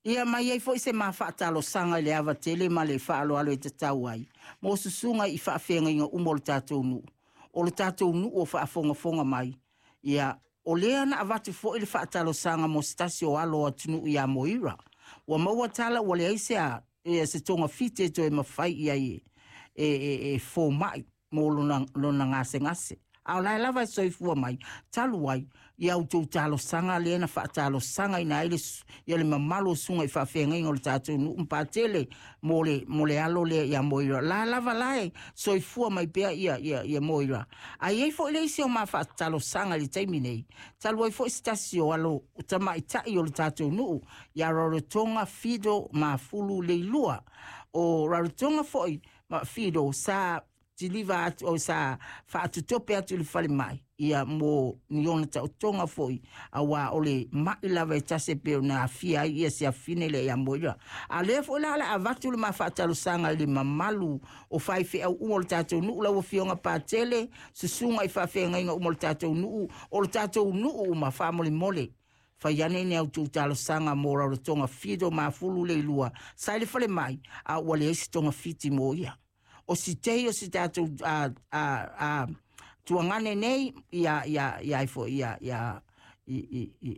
Ia ma i ai foi se ma faatalosaga i le ava tele ma le faaaloalo e tatau ai mo susuga i faafeagaiga uma o le tatou nuu, o le tatou nuu o faafogafoga mai. Ia, o lea na avatu foi le faatalosaga mo se tasi o alo o atunuu ia Moira. Ua maua tala ua leai se a, ia, se togafiti e toe mafai i ai e fomai mo lona gasegase. A o la e lava e soifua mai, talu ai ia outou talosaga lea na faatalosagaina ai le mamalu o susuga i faafeagaiga o le tatou nuu ma Patele mo le alo lea ia Moira. La lava la e soifua mai pea ia Moira. A i ai foi le isi o ma faatalosaga i le taimi nei, talu ai foi se tasi o alo tamaitai o le tatou nuu ia Rarotonga Fido Mafulu Leilua. O Rarotonga foi ma Fido sa tiliva atu o sa faatutope atu i le falemai ia mo ni ona taotoga foi, auā o le ma'i lava e tasi e pei ona afia ai ia se afine lea ia Moira. A lea foi la o le avatu le ma faatalosaga i le mamalu o faifeau uma o le tatou nuu, lau afioga Patele, susuga i faafeagaiga uma o le tatou nuu, o le tatou nuu uma, faamolemole fai ane ni outou talosaga mo Rarotonga Fido Mafulu Leilua sa i le falemai, a ua leai se togafiti mo ia. O si tei o si tatou a, a, a, tuagane nei ia ia ia ai foi ia ia i i i